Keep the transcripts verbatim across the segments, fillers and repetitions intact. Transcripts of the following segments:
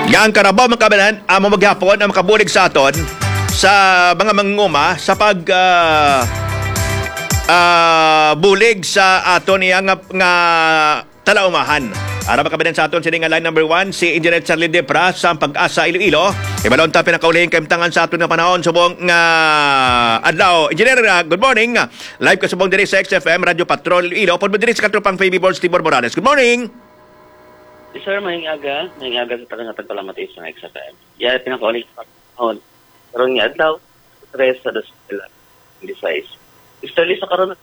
Nga ang Carabao, mga kababayan, amo maghapon ang makabulig sa aton sa mga manguma sa pag, ah, ah, bulig sa aton iya nga, nga talaumahan. Ara, mga kababayan, sa aton sini nga line number one, si Engineer Charlie Depra sa Pag-asa Iloilo. Ibalon ta pinakaulihing kaimtangan sa aton nga panahon subong nga adlaw. Engineer, ah, good morning. Live ka subong diri sa X F M Radio Patrol Iloilo. Pud mo diri sa katropang Fabi Borge Tibor Morales. Good morning. Yes, sir, maayong aga. Maayong aga sa tanan nga tagpalamati sa X F M. Yari pinakauli sa panahon. Karon nga adlaw, tres sa dos mil twenty-six. Easterly sa karon,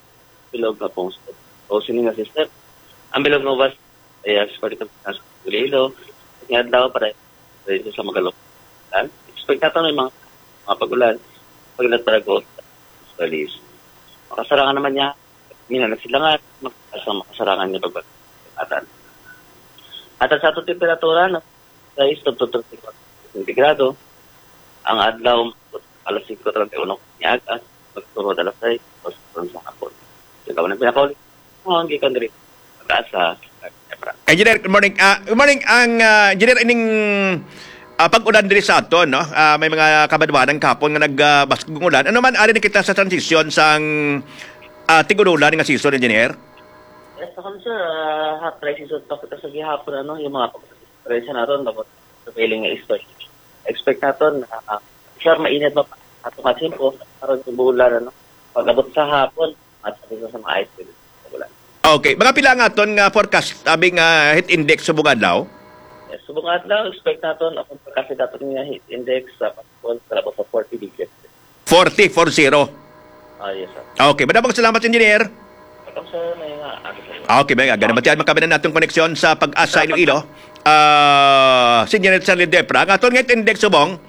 bilog nga pungsod. O sini nga system. Ang bilog nga ubas, ay, ah, sa pagkita sa Iloilo. Nga adlaw, para sa Magalog. Expect nato may mga, mga pag-ulan. Pag-ulan para go. Easterly. Makasarangan naman niya. Mina na sila nga, mag-, sa makasarangan niya pag-, atan. At sa atong temperatura, na sais to thirty-four centigrado, ang adlaw, alas singko treinta y uno niya aga, magturo alas sais, sa hapon. Ikaw na pinakauli. Oh, ang gikan diri. Pag-asa, Engineer, good morning. Ah, good morning, ang, ah, engineer, ining, ah, pag-ulan diri sa aton, no? Ah, may mga kabadwanan kahapon nga nag, ah, baskog ulan. Ano man, ari na kita sa transition sang, ah, tig-ulan nga season, engineer? Yes, ako, sir, ah, hot dry season pa kita sa gihapon, ano, yung mga pag-, Presensya naton, dapat prevailing nga east west. Expect naton, ah, sir, mainit pa ato nga tempo, karon yung bulan, ano, pag-abot sa hapon, at sa sa mga ice cream, bulan. Okay, mga pila nga aton nga forecast, abi nga heat index subong adlaw? Yes, subong adlaw, expect naton, ang forecast naton nga heat index sa pagkon sa labot sa forty degrees. Forty, four zero. Ah, yes, sir. Okay, madamong salamat, engineer. Welcome, sir. May nga, ano, sir? Okay, may nga. Ganun ba tiyan, makabinan natong koneksyon sa Pag-asa Iloilo? Ah, si Engineer Charlie Depra, ang aton nga index subong,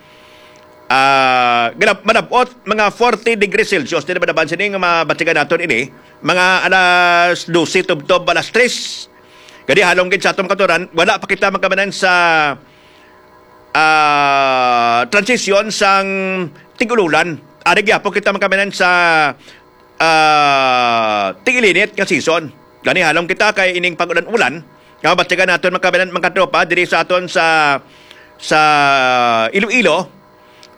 ah, ganap-, malabot, mga forty degrees Celsius, di na ba naman sining mabatikan naton ini? Mga alas dose tubtob, alas tres. Gani, halong gid sa atong katuran, wala pa kita magkamanan sa, ah, transition sang tig-ululan. Ari gyapon kita magkamanan sa, ah, tig-ilinit nga season. Gani, halong kita kay ining pag-ulan-ulan nga mabatikan naton, magkamanan, mga tropa, diri sa aton sa, sa Iloilo.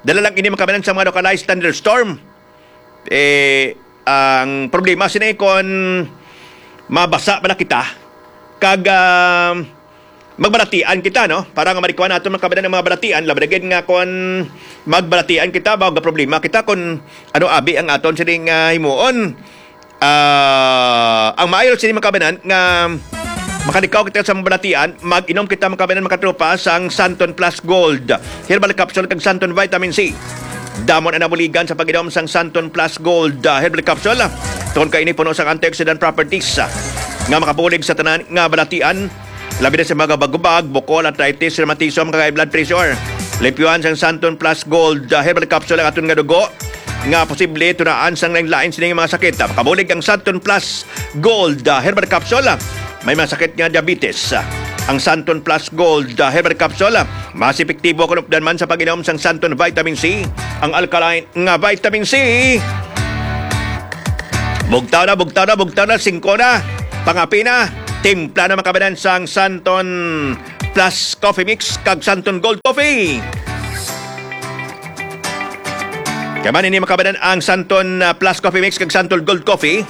Dala lang ini, mga kabayan, sa mga localized thunderstorm. Eh, ang problema sini kon mabasa bala kita kag, ah, magbalatian kita, no? Para nga marikuha nato, mga kabayan, ang mga balatian, labi na gid nga kon magbalatian kita, ba, problema kita kon ano abi ang aton sining, ah, himuon. Ah, ang maayo sini, mga kabayan, nga makalikaw kita sa mga balatian, mag-inom kita, mga kabayan, mga tropa, sang Santon Plus Gold Herbal Capsule kag Santon Vitamin C. Damo na nabuligan sa pag-inom sang Santon Plus Gold, ah, Herbal Capsule, tungod kay ini puno sang antioxidant properties, ah, nga makabulig sa tanan nga balatian, labi na sa mga bagubag, bukol, arthritis, rheumatism, kag high blood pressure. Limpyuhan sang Santon Plus Gold, ah, Herbal Capsule ang aton nga dugo nga posible tunaan sang lain-lain sining mga sakit. Makabulig ang Santon Plus Gold, ah, Herbal Capsule. May mga sakit nga diabetes. Ang Santon Plus Gold, ah, Herbal Capsule, mas epektibo kon updan man sa pag-inom sang Santon Vitamin C, ang alkaline nga vitamin C. Bugtaw na, bugtaw na, bugtaw na, singko na. Pangapi na. Timpla na, mga kabayan, sang Santon Plus Coffee Mix kag Santon Gold Coffee. Kay man ini, mga kabayan, ang Santon, ah, Plus Coffee Mix kag Santon Gold Coffee.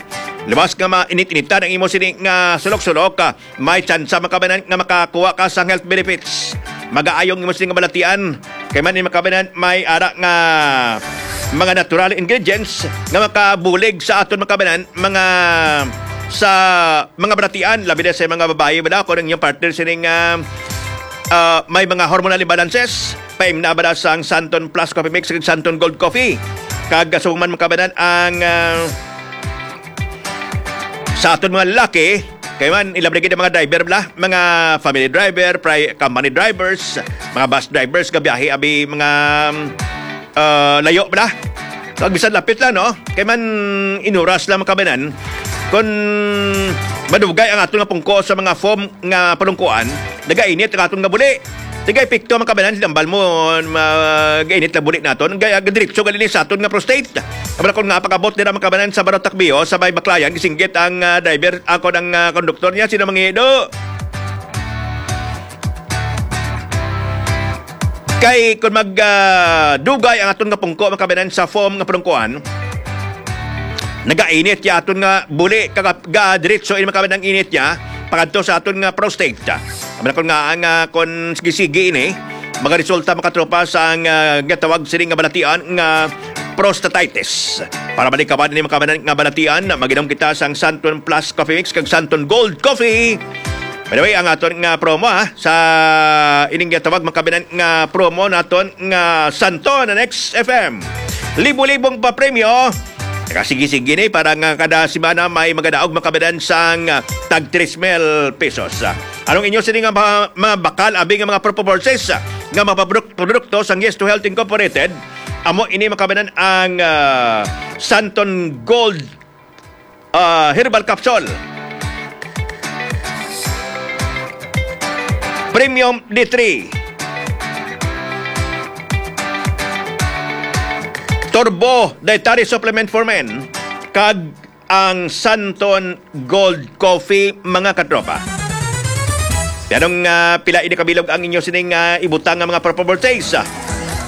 Luwas nga mainit-initan ang imo sini nga sulok-sulok, ah, may tsansa, mga kabayan, nga makakuha ka sa health benefits. Mag-aayong imo sini nga balatian. Kay man ini, mga kabayan, may ara nga mga natural ingredients nga makabulig sa aton, mga kabayan, mga, sa mga balatian, labi na sa mga babayi, bala, kung ang inyong partner sining, ah, ah, may mga hormonal imbalances, paimna bala sang Santon Plus Coffee Mix ug Santon Gold Coffee. Kag subong man, mga kabayan, ang, ah, sa aton mga lalaki, kay man, ilabi na gid ang mga driver bala, mga family driver, pri-, company drivers, mga bus drivers, gabiyahe, abi, mga, ah, layo bala. Kag bisan lapit lang, no? Kay man inuras lang, mga kabayan. Kung madugay ang aton nga pungko sa mga foam nga palungkuan, nagainit ang aton nga buli. Nagaepekto, mga kabayan, sinambal mo, magainit na buli naton. Gaya, diretso gali ni sa aton nga prostate. Abra, kung nga pag-abot nila, mga kabayan, sa Barrio Takbio, sa may Baklayan, gisinggit ang, ah, driver, ako ng, ah, konduktor niya, sino mangido? Kay kung mag, ah, dugay ang aton nga pungko, mga kababayan, sa foam nga pungkuan, nagainit ya aton nga buli, kaga-, ga diretso ini, mga kababayan, ang init niya pakadto sa aton nga prostate. Ang mga nga, ang, ah, kung sige-sige ini, magaresulta, mga katropa, sa ang, ah, ginatawag sini nga balatian nga prostatitis. Para malikawan ini, mga kababayan, nga balatian, mag-inom kita sang Santon Plus Coffee Mix kag Santon Gold Coffee. By the way, ang aton nga promo, ha, sa ining ginatawag, mga kababayan, nga promo naton nga Santon and X F M. Libo-libong papremyo. Nakasigi-sigi ni para nga kada semana may magadaog, mga kababayan, sang, ah, tag tres mil pesos. Anong inyo sini nga mga, mga bakal, abi nga mga purposes, ah, nga mga pabduk-, produkto sang Yes to Health Incorporated? Amo ini, mga kababayan, ang, ah, Santon Gold, ah, Herbal Capsule, Premium D three, Turbo Dietary Supplement for Men, kag ang Santon Gold Coffee, mga katropa. Anong, ah, pila ini kabilog ang inyo sining, ah, ibutang nga mga proper purchase?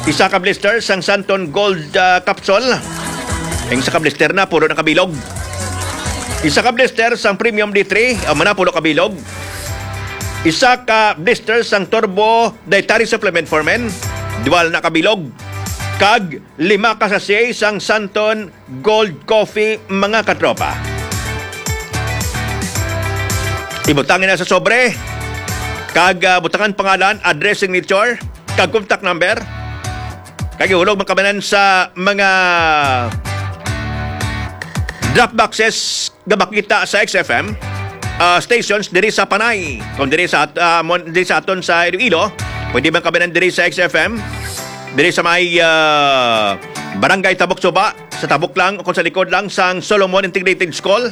Isa ka blister sang Santon Gold, ah, Capsule. Ang isa ka blister na, pulo na kabilog. Isa ka blister sang Premium D three, amo na, pulo kabilog. Isa ka blister sang Turbo Dietary Supplement for Men, dual na kabilog. Kag lima ka sachet sang Santon Gold Coffee, mga katropa. Ibutang na sa sobre, kag, ah, butangan pangalan, address, signature, kag contact number. Kag ihulog, mga kababayan, sa mga drop boxes nga makita sa X F M, ah, stations diri sa Panay. Kung diri sa at-, ah, mon-, diri sa aton sa Iloilo, pwede man kababayan diri sa X F M, diri sa may, ah, Barangay Tabok Suba, sa tabok lang o kung sa likod lang sang Solomon Integrated School.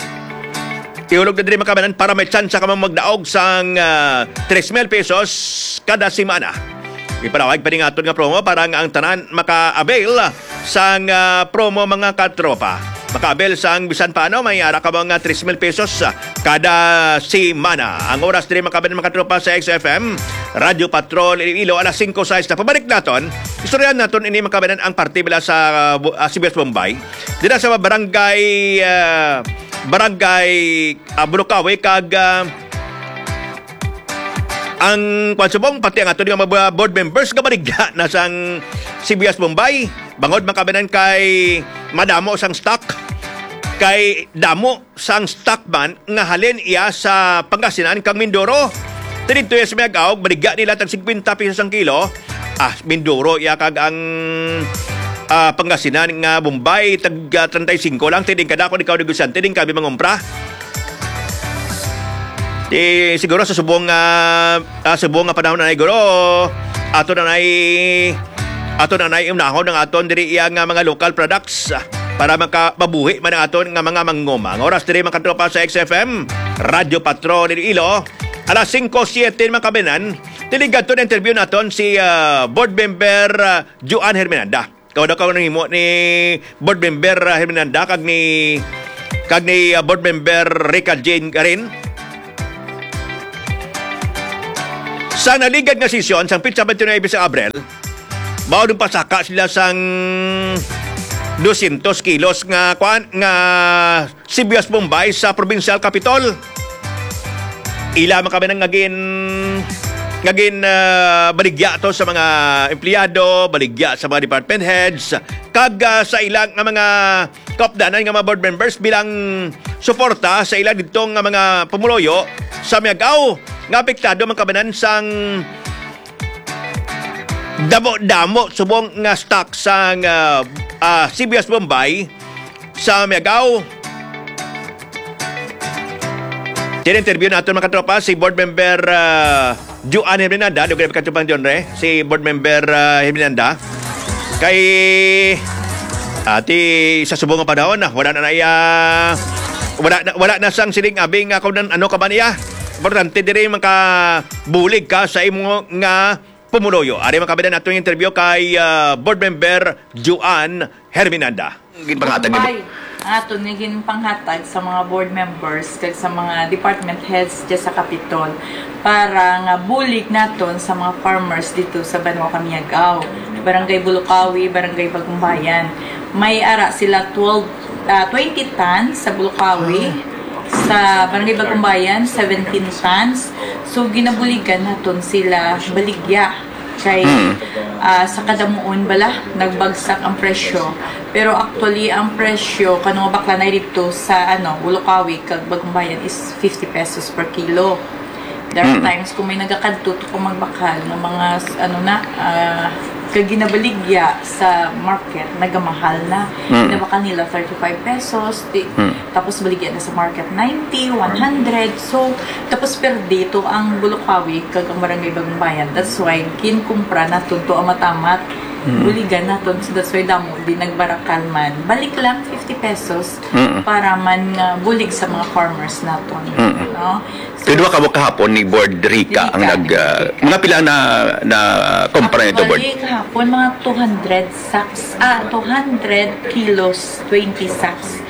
Ihulog na diri, mga kababayan, para may tsansa ka magdaog sang, ah, tres mil pesos kada semana. Ipanawag pa ni nga aton nga promo para nga ang tanan maka-avail sang, ah, promo, mga katropa. Maka-avail sang bisan paano, may ara ka mga tres mil pesos, ah, kada semana. Ang oras diri, mga kababayan, mga katropa, sa X F M, Radyo Patrol Iloilo, alas singko sais na. Pabalik naton, istoryahan naton ini, mga kababayan, ang parte bala sa, ah, Bu-, ah, Sibuyas Bombay. Dira sa barangay, ah, barangay, ah, Bunukawi kag, ah, ang kwan subong, pati ang ato nga mga board members nga baligya na sang Sibuyas Bombay. Bangod, mga kababayan, kay madamo sang stock, kay damo sang stock man nga halin iya sa Pangasinan kag Mindoro. Tinidto iya sa Miag-Aw, baligya nila tag singkwenta pesos ang kilo. Ah, Mindoro iya kag ang, ah, Pangasinan nga Bombay, tag, ah, treinta y cinco lang. Tiding kadako ikaw negosyante, din kami mangumpra. Di siguro sa subong nga, ah, subong nga panahon na, siguro ato na nay, ato na nay unahon ang aton diri iya nga mga local products, ah, para makababuhi man ang aton nga mga manguma. Ang oras diri, mga katropa, sa X F M, Radyo Patrol Iloilo, alas singko siete, mga kababayan. Dili gadto na interview naton si, ah, Board Member, ah, Joan Herminanda. Kawad-kawad nang himo ni Board Member, ah, Herminanda kag ni, kag ni, ah, Board Member Rica Jane Garin. Sa naligad nga sesyon sang petsa twenty-nine sa Abril, mao nung pasaka sila sang dosyentos kilos nga, kwan, nga Sibuyas Bombay sa Provincial Capitol. Ila man kami nang ngagin, ngagin, ah, baligya to sa mga empleyado, baligya sa mga department heads, kag, ah, sa ilang nga mga kaupdanan nga mga board members bilang suporta sa ila didto nga mga pumuluyo sa Miag-Aw nga apektado man kabanan sang damo-damo subong nga stock sang, ah, ah, Sibuyas Bombay sa Miag-Aw. Tin-interview naton, mga katropa, si Board Member, ah, Joan Herminanda, lugar ka, Tupang John Re, si Board Member, ah, Herminanda. Kay, ati, sa subong nga panahon, ah, wala na na iya, wala na, wala na sang siling abing, ah, kung nan-, ano ka ba niya. Importante diri makabulig ka sa imo nga pumuluyo. Ari man kabanan atong interview kay, ah, Board Member Joan Herminanda. Ginpanghatag nimo? Bombay. Ang aton nga ginpanghatag sa mga board members kag sa mga department heads dyan sa Capitol para nga bulig naton sa mga farmers dito sa Banwa Kamiag-ao, Barangay Bulukawi, Barangay Bagumbayan. May ara sila twelve, ah, twenty tons sa Bulukawi, sa Barangay Bagumbayan, seventeen tons. So, ginabuligan naton sila baligya. Kay, Mm. ah, sa kadamuon bala, nagbagsak ang presyo. Pero actually, ang presyo, kano nga bakla na dito sa, ano, Bulukawi kag Bagumbayan is fifty pesos per kilo. There are Mm. times kung may nagakadto to kung magbakal nga mga, s-, ano na, ah, kag ginabaligya sa market, nagamahal na. Mm. Ginabakal nila thirty-five pesos, di, Mm. tapos baligya na sa market ninety, one hundred. So, tapos perdi to ang Bulukawi kag ang Barangay Bagumbayan. That's why ginkumpra naton to ang matamat. Mm. Buligan naton. So, that's why damo di nagbarakal man. Balik lang fifty pesos Mm. para man nga bulig sa mga farmers naton. Mm. No? So, Kay duha ka buok kahapon ni Board Rica Rica, ang nag, ah, Rica. Mga pila na, na kumpra nito, Board? Actually, kahapon, mga two hundred sacks, ah, two hundred kilos, twenty sacks.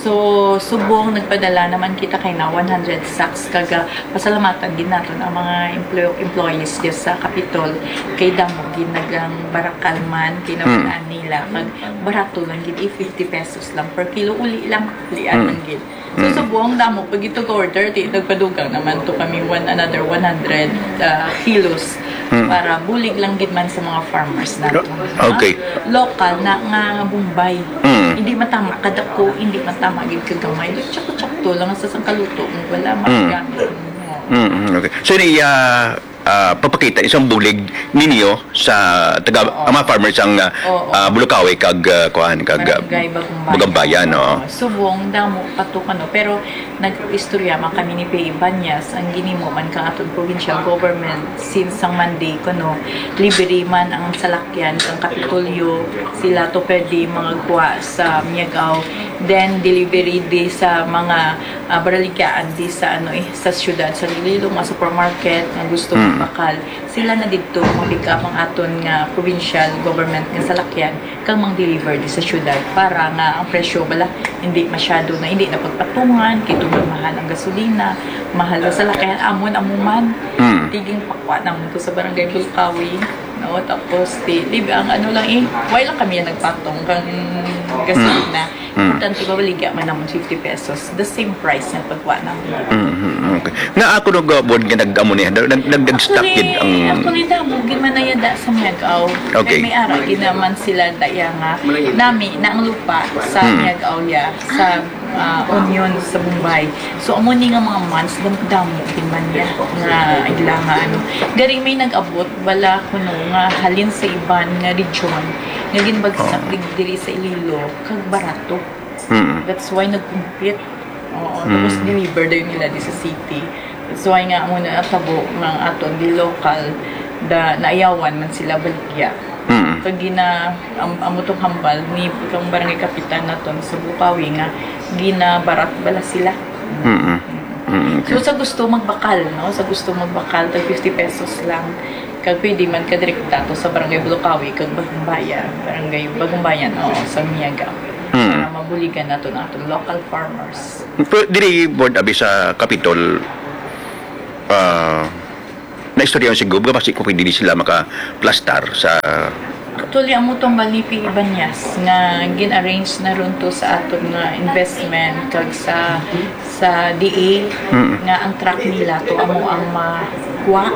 So, subong nagpadala naman kita kay na one hundred sacks. Kag, ah, pasalamatan gid naton ang mga emplo-, employees dyan sa Capitol kay damo gid nagang barakal man, kay Mm. naman nila. Kag barato lang gid, eh, fifty pesos lang per kilo. Uli lang, ulian Mm. lang gid. So, Mm. subong damo pag ito order, di nagpadugang naman to kami one, another one hundred, ah, kilos Mm. para bulig lang gid man sa mga farmers naton. Okay. Local na nga Bombay. Mm. Hindi matama kadako, hindi matama gid kagamay. Tsakto-tsakto lang sa sangkaluto mo, wala Mm. magamit mo. Mm, mm, okay. So, ni, ah, ah, papakita isang bulig ninyo sa taga, Oo. ang mga farmers ang, ah, Oo. ah, Bulukawi kag, ah, kuan, kag, ah, Barangay Bagumbayan. Bagumbayan, oo. Oo. Subong, damo pa to, ano, pero nag-istorya man kami ni P A Ibañez, ang ginimo man kang aton provincial government since ang Monday, kuno, libre man ang salakyan kang Kapitolyo, sila to pwede mangagwa sa Miagao, then delivery di sa mga, ah, baraligyaan di sa, ano, eh, sa siyudad, sa Iloilo, mga supermarket nga gusto Mm. magbakal, sila na didto mag-pick up ang aton nga provincial government nga salakyan kag mang-deliver di sa siyudad para nga ang presyo bala hindi masyado na, hindi na pagpatungan, kay tungod mahal ang gasolina, mahal ang salakyan, amon, amo man. Mm. Tiging pakwa namon to sa Barangay Bulkawi, no? Tapos, di, di, ang ano lang eh, why lang kami nagpatong kang gasolina? Mm. Mm. Importante, babaligya man namon fifty pesos. The same price nga pagkuha namin. Mm, mm, okay. Na ako nag, uh, buwan nga nag-amo niya, nag, nag, nag, nag-stock Actually, gid ang actually, damo gid man na yada sa Miagao. Okay. Kay may ara gid naman sila daya nga nami na ang lupa sa Hmm. Miagao ya, sa, ah, Union, sa Bombay. So, amo ni nga mga months, dam-, damo gid man niya nga ila nga ano. Gari may nag-abot, wala kuno nga halin sa iban nga region, nga ginbagsak Oh. dig-, diri sa Iloilo, kag barato. Mm. That's why nag-compete. Oo, tapos Mm. deliver dayon nila di sa city. That's why nga amo na natabo nga ang aton di local, da, naayawan man sila baligya. Mm. Kag gina-, am-, amo tong hambal ni kang barangay kapitan naton sa Bukawi nga ginabarat bala sila. Mm. Mm, okay. So, sa gusto magbakal, no? Sa gusto magbakal, tag fifty pesos lang. Kag pwede man ka direkta to sa Barangay Bulukawi kag Bagumbayan, Barangay Bagumbayan, oo, sa Miagao. Hmm. Para mabuligan nato ang atong local farmers. Pero diri, Board, abi sa Kapitol, ah, naistorya si Gob, nga basi kung pwede di sila makaplastar sa Actually, amo tong Balipi Ibañez nga gin-arrange na ron to sa aton nga investment kag sa sa D A Mm. nga ang truck nila to amo ang makuha,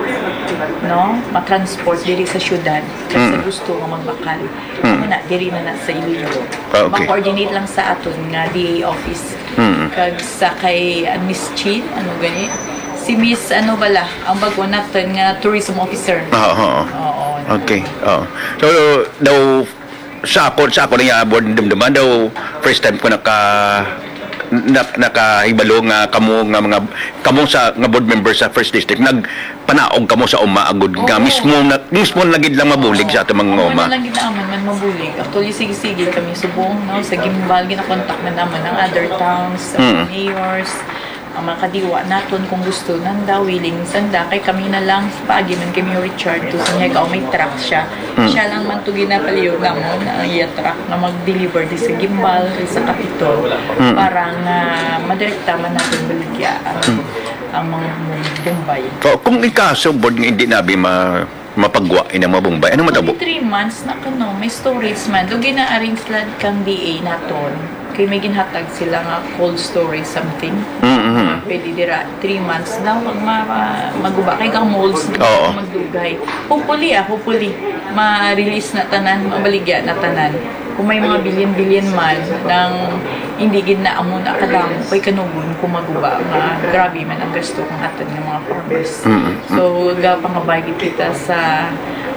no? Matransport diri sa syudad. Kag sa Mm. gusto nga magbakal. Mm. Amo na, diri na na sa Iloilo. Ah, okay. Ma-coordinate lang sa aton nga D A office. Mm. Kag sa kay, ah, Miss Chin, ano gani? Si Miss, ano bala, ang bago naton nga tourism officer. Oo, oo. Oo, Okay. Oo. So, daw, sa ako, sa ako na nga, Board, dumduman daw, first time ko naka, na, nakahibalo nga kamo nga mga, kamo sa, nga board member sa First District, nagpanaog kamo sa uma agud nga Oo. mismo na, mismo na gid lang mabulig Oo. sa ato mga Amo uma. na lang gid naman man mabulig. Actually, sige-sige kami subong, no? Sa Guimbal, ginakontak na naman ang other towns, sa Mm. mayors, Mga kadiwa naton, kung gusto nanda, willing sanda, kay kami na lang, paagi man kay Mayor Richard, to sa Miagao may truck siya. Mm. Siya lang man to ginapaliw namon, ang iya truck nga mag-deliver di sa Guimbal, sa Capitol, Mm. para nga madirekta man naton baligya ang, Mm. ang mga Bombay. O, kung ikaso, Bord, nga hindi nabi ma-, mapagwa inang mga Bombay, anong matabo? Only three months na kuno, may storage man. Lugay na arrange lang kang D A naton. Kay may ginhatag sila nga cold storage something. Mm-hmm. Pwede dira, three months daw, mag, ma, ma, maguba kay kang molds na Oo. magdugay. Hopefully, ah, hopefully, ma-release na tanan, mabaligya na tanan. Kung may mga bilin-bilin man, nang hindi gid na amo na kadamo, kay kanugon kung maguba, nga grabe man ang gasto kang aton nga mga farmers. Mm-mm. So, gapangabay gid kita sa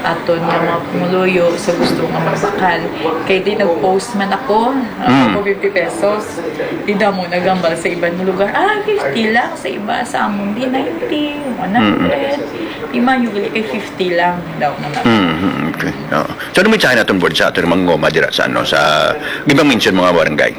aton nga mga pumuluyo sa gusto nga magbakal. Kay di nag-post man ako, ah, Mm. ako fifty pesos. Di damo nagambal sa iban nga lugar. Ah, fifty lang sa iba, sa amon di ninety, one hundred. Mm. Di man yung gali kay fifty lang daw na lang. Mm, okay. Oo. So, ano mensahe naton, Bord, sa aton mga nguma dira sa, ano, sa gibang mention mga barangay?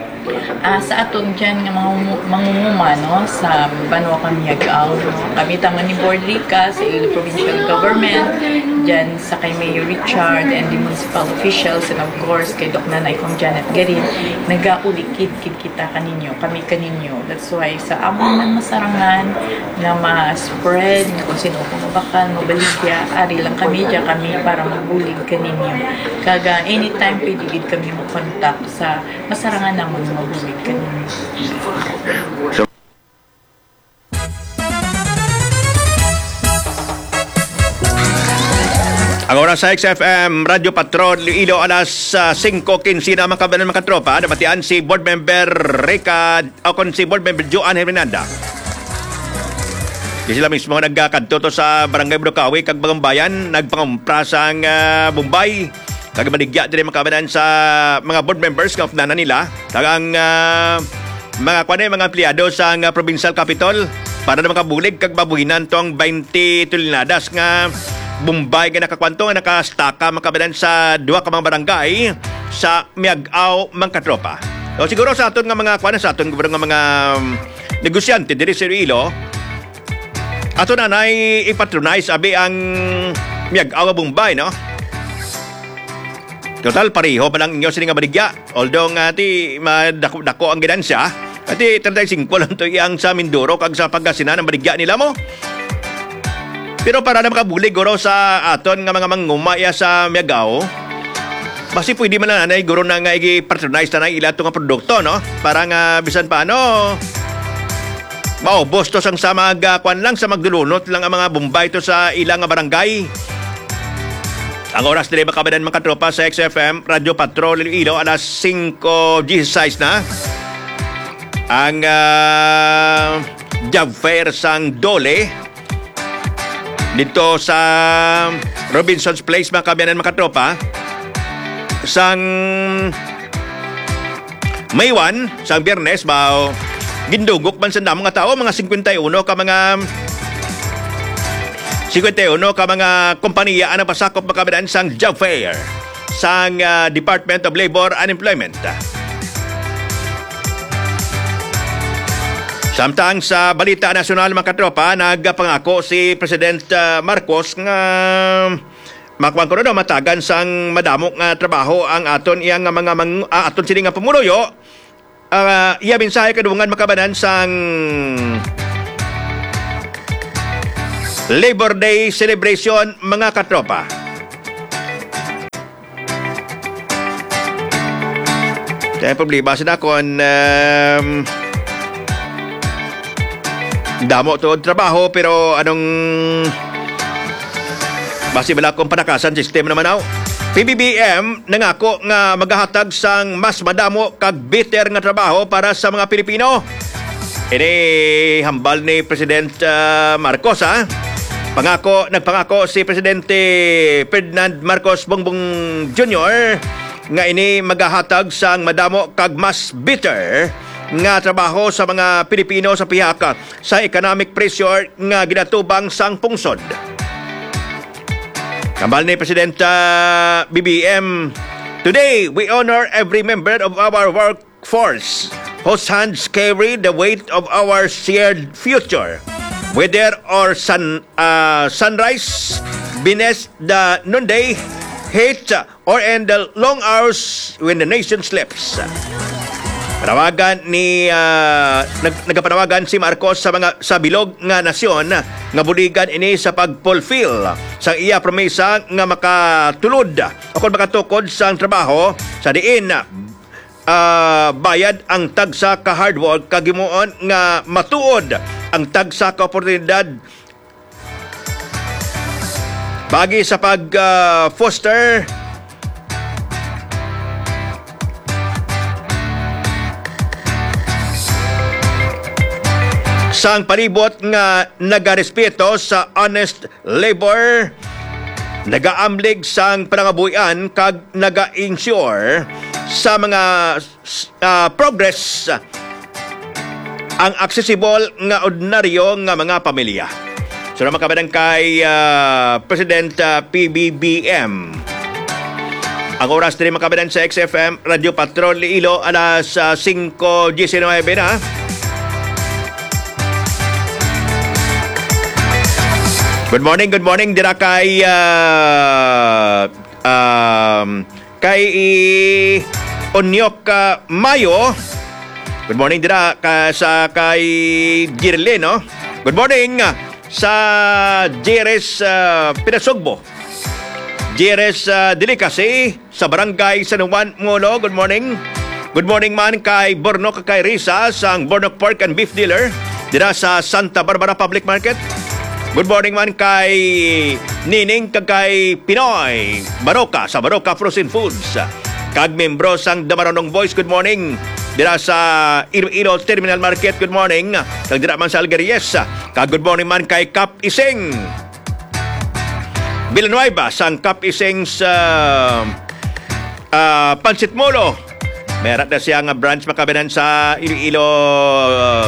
Ah, sa aton dyan nga mga umu-, mangunguma, no, sa Banwa Kamiagaw, no, kami tama ni Board Rica, sa Iloilo Provincial Government, dyan sa kay Mayor Richard and the municipal officials, and of course, kay Doc Nanay kong Janet Garin, nagaulikid kid kita kaninyo, kami kaninyo. That's why sa amon man masarangan nga ma-spread, nga kung sino ko mabakal, mabaligya, ari lang kami, dyan kami para magbulig kaninyo. Kaga anytime pwede gid kami mo-contact sa masarangan namon nga mabulig kaninyo. So, ang oras sa X F M, Radyo Patrol, Iloilo, alas, ah, singko quince na, mga kababayan, mga katropa. Nabatian si Board Member Rica, o kon si Board Member Joan Herminanda. Di sila mismo nagkakadto to sa Barangay Burukawi kag Bagumbayan, nagpangumpra sang, ah, Bombay. Kag baligya diri, mga kababayan, sa mga board members nga updanan nila. Kag ang, ah, mga, kuwan, eh, mga empleyado sa, ah, provincial capitol para na makabulig kag mabuhinan tong twenty toneladas nga Bombay nga nakakuwan to, nga nakastaka, mga kababayan, sa duha ka mga barangay sa Miag-ao, mga katropa. O, siguro sa aton nga mga, kuwan, sa aton nga mga, um, negosyante diri sa Iloilo, ato na nay ipatronize, abi, ang Miag-ao nga Bombay, no? Total, pareho pa lang inyo sini nga baligya. Although nga, ti, madako-dako ang ginansya, ati, treinta y cinco lang to iyang sa Mindoro kag sa Pangasinan ang baligya nila mo. Pero para na makabulig, guro, sa aton nga mga manguma iya sa Miag-ao, basi pwede man na, anay, guro, na nga i-patronize na na ila to nga produkto, no? Para nga bisan paano, maubos to sang sa mag, ah, kwan lang, sa magdulunot lang ang mga Bombay to sa ila nga barangay. Ang oras diri, mga kababayan, mga katropa, sa X F M, Radyo Patrol Iloilo, alas singko dieciséis na. Ang, ah, job fair sang DOLE dito sa Robinson's Place, mga kababayan, mga katropa, sang May one, sang Biyernes, bao, gindugok man sa damo nga tawo, mga cincuenta y uno ka mga, cincuenta y uno ka mga kompaniya ang napasakop, mga kababayan, sang job fair sang, ah, Department of Labor and Employment. Samtang sa balita nasyonal, mga katropa, nagpangako si President, ah, Marcos nga makuan ko na daw, matagan sang madamo nga trabaho ang aton iya nga mga mang-, ah, aton sini nga pumuluyo. Ah, iya mensahe kadungan, mga kababayan, sang Labor Day celebration, mga katropa. Kaya problema sa dakon, um, damo tuod trabaho, pero anong basi bala kung panakasan system naman, aw? P B B M nangako nga magahatag sang mas madamo kag better nga trabaho para sa mga Pilipino. Ini hambal ni President, ah, Marcos, ha? Pangako, nagpangako si Presidente Ferdinand Marcos Bongbong Junior nga ini magahatag sang madamo kag mas better nga trabaho sa mga Pilipino sa pihak sa economic pressure nga ginatubang sang pungsod. Hambal ni Presidenta B B M, "Today, we honor every member of our workforce whose hands carry the weight of our shared future. Whether or sun, ah, sunrise, beneath the noonday heat, or in the long hours when the nation sleeps. Panawagan ni, ah, nag-, nagapanawagan si Marcos sa mga, sa bilog nga nasyon nga buligan ini sa pag-fulfill sa iya promesa nga makatulod o kon makatukod sang trabaho sa diin, ah, bayad ang tagsa ka hard work kag himuon nga matuod ang tagsa ka oportunidad pagi sa pag, ah, foster sang palibot nga nagarespeto sa honest labor, nagaamlig sang panangabuhian kag naga-ensure sa mga s-, ah, progress ang aksesibol nga ordinaryo nga mga pamilya. So, naman kami kay, ah, President, ah, P B B M. Ang oras diri, mga kabayan, sa X F M Radyo Patrol Iloilo, alas, ah, singko diecinuebe na. Good morning, good morning dira kay, ah, um, kay i-, Onyok, ah, Mayo. Good morning dira ka, sa kay Jirle, no? Good morning, ah, sa Jires, ah, Pinasugbo. Jires, ah, Delicacy sa Barangay San Juan, Molo. Good morning. Good morning man kay Bornok, kay Risa, sang Bornok Pork and Beef Dealer dira sa Santa Barbara Public Market. Good morning man kay Nining kag kay Pinoy Baroka sa Baroka Frozen Foods. Kag membro sang The Marunong Boys, good morning. Dira sa Iloilo Terminal Market, good morning. Kag dira man sa Algeries. Kag good morning man kay Kap Ising Villanueva sang Kap Ising sa, ah, Pancit Molo. May ara na siya nga branch, mga kabayan, sa Iloilo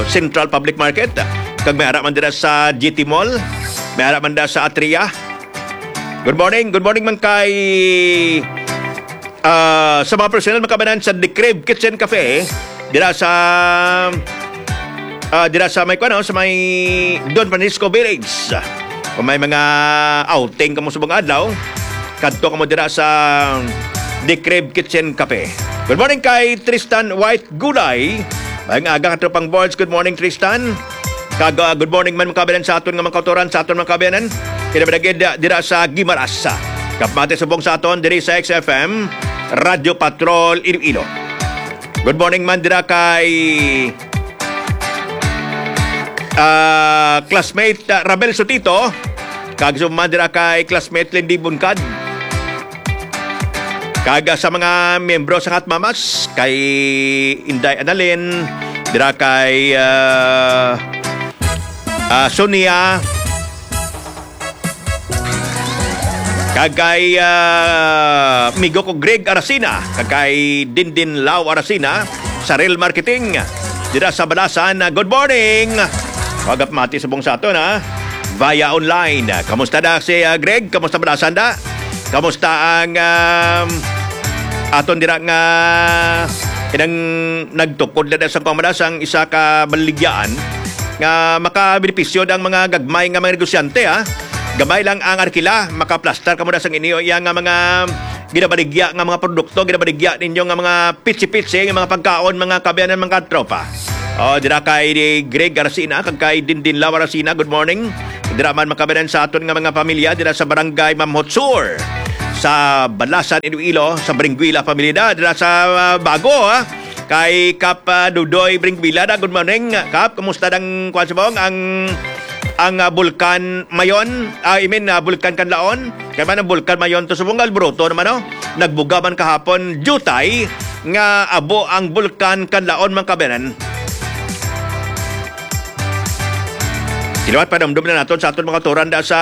Central Public Market. Kag may ara man dira sa G T Mall. May ara man dira sa Atria. Good morning. Good morning man kay, ah, sa mga personnel, mga kabayan, sa The Crib Kitchen Cafe. Dira sa, ah, dira sa may, kuwan, no, sa may Don Francisco Village. Kung may mga outing kamo subong adlaw, kadto kamo dira sa The Crib Kitchen Cafe. Good morning kay Tristan White Gulay. Maayong aga, katropang boards. Good morning, Tristan. Kag, ah, good morning man, mga kabayan, sa aton nga mga kautoran, sa aton mga kabayanan. Kinabalagid, ah, dira sa Guimaras. Kapamati subong sa aton diri sa X F M Radyo Patrol Iloilo. Good morning man dira kay, ah, classmate, ah, Rabel Sotito. Kag subong man dira kay classmate Lindy Buncad. Kag, ah, sa mga miyembro sa Hot Mamas, kay Inday Annalyn, dira kay, ah, ah, Sonia, kag kay, ah, amigo ko Greg Aracina, kag kay Dindin Lau Aracina, sa Real Marketing, dira sa Balasan. Ah, good morning! Wagap mati subong sa aton, ha? Via online. Kamusta na si, ah, Greg? Kamusta Balasan da? Kamusta ang, um, aton dira nga inang nagtukod na sa pamalas ang isa ka baligyaan nga makabenepisyo ang mga gagmay nga mga negosyante, ha? Gamay lang ang arkila, makaplastar kamo na sang inyo iya nga mga ginabaligya nga mga produkto, ginabaligya ninyo nga mga pitsi-pitsi, nga mga pagkaon, mga kabayanan, mga tropa. Oh, dira kay Greg Aracina, kag kay Dindin Lau Aracina, good morning. Dira man makabayanan sa aton nga mga pamilya, dira sa Barangay Mamhotsur, sa Balasan, Iloilo, sa Bringuila pamilya, dira sa, ah, Bago, ha? Kay Kap, ah, Dudoy Bringuila na, good morning. Kap, kumusta ang, kuwan sa bong, ang, ang, ah, Bulkan Mayon? Ah, I mean, ah, Bulkan Kanlaon? Kay man ang Bulkan Mayon to subong alboroto naman, no? Nagbuga man kahapon, jutay nga abo ang Bulkan Kanlaon, mga kabayanan. Liwat, panumdum na naton sa aton mga turan da sa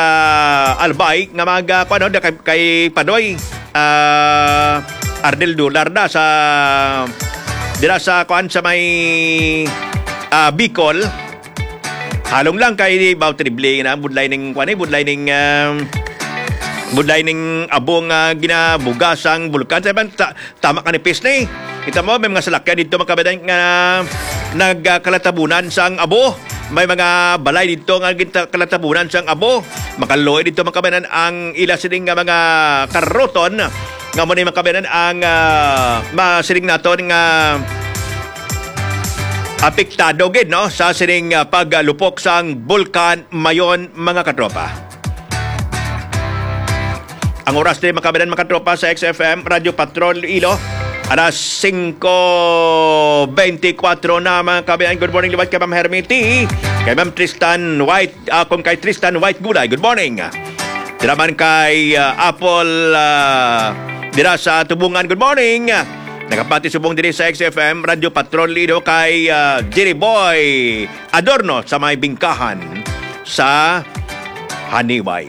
Albay nga mga, kuwan, no, da kay, kay Panoy, ah, Arnel Dular da sa, dira sa, kuwan, sa may, ah, Bicol. Halong lang kay Bao Trible na budlay ning, kuwan, eh, budlay ning, um, Budlay ning abo nga ginabuga sang bulkan. Sa iban, ta-, tama ka ni Pis ni. Kita mo, may mga salakyan dito, mga kabayan, nga nagkalatabunan sang abo. May mga balay dito nga ginta-, kalatabunan sang abo. Makaluoy dito, mga kabayan, ang ila sining nga mga karoton. Nga mo ni, mga kabayan, ang, ah, masiling naton nga apektado gid, no, sa sining, ah, paglupok sang Bulkan Mayon, mga katropa. Ang oras din, mga kabayan, mga katropa, sa X F M Radyo Patrol Iloilo, alas singko beintikwatro na, mga kabayan. Good morning liwat kay Ma'am Hermity, kay Ma'am Tristan White, ah, kung kay Tristan White Gulay. Good morning. Dira man kay, ah, Apple, ah, dira sa Tubungan. Good morning. Nakapati subong diri sa X F M Radyo Patrol Iloilo kay, ah, Jerry Boy Adorno sa may bingkahan sa Haniway.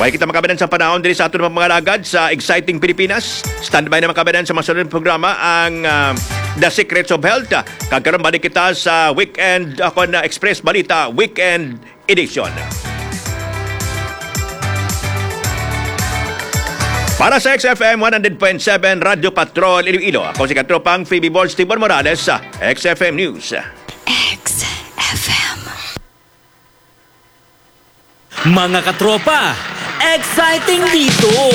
Way kita, mga kabayan, sa panahon diri sa aton mga lagad sa Exciting Pilipinas. Standby na, mga kabayan, sa masunod nga programa, ang, ah, The Secrets of Health. Kag karon, balik kita sa weekend, ako na Express Balita Weekend Edition. Para sa X F M one hundred point seven Radyo Patrol Iloilo, ako si katropang Phoebe Borge Tibor Morales sa X F M News. X F M. Mga katropa, exciting dito!